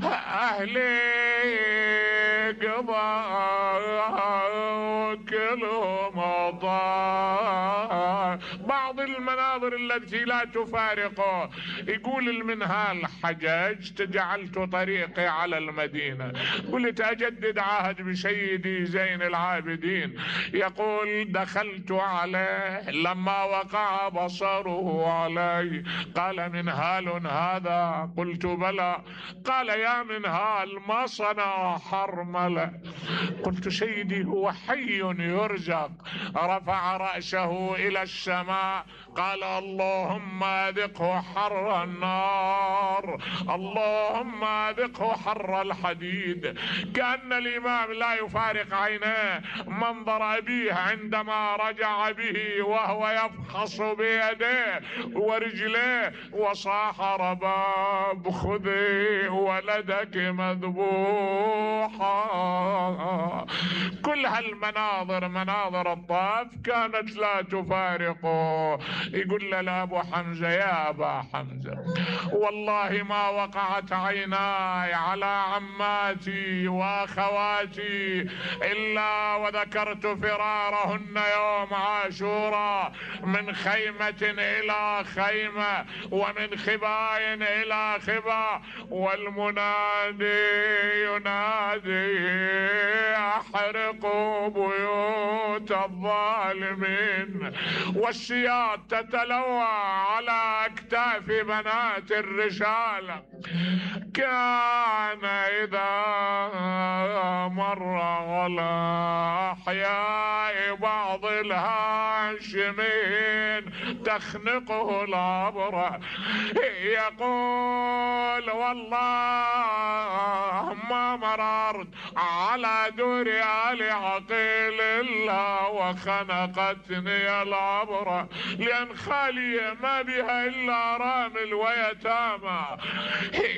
اهلي قضى كلهم ضاع. بعض المناظر التي لا تفارقه. يقول المنهال: حججت جعلت طريقي على المدينة، قلت أجدد عهد بسيدي زين العابدين. يقول: دخلت عليه لما وقع بصره علي قال: منهال هذا؟ قلت: بلى. قال: يا منهال، ما صنع حرملة؟ قلت: سيدي هو حي يرزق. رفع رأسه إلى السماء قال: اللهم أذقه حر النار، اللهم أذقه حر الحديد. كأن الإمام لا يفارق عينيه منظر أبيه عندما رجع به وهو يفحص بيديه ورجليه وصاح: رباب خذي ولدك مذبوحا. كل هالمناظر، مناظر الطائف، كانت لا تفارقه. يقول له أبو حمزة: يا أبا حمزة، والله ما وقعت عيناي على عماتي وأخواتي إلا وذكرت فرارهن يوم عاشوراء من خيمة إلى خيمة ومن خباء إلى خباء، والمنادي ينادي: احرقوا بيوت الظالمين. والسياط تتلوى على اكتاف بنات الرسالة. كان اذا مر على احياء بعض الهاشمين تخنقه العبرة، يقول: والله ما مررت على دور آل عقيل إلا وخنقتني العبرة، لأن خالية ما بها إلا رامل ويتامى.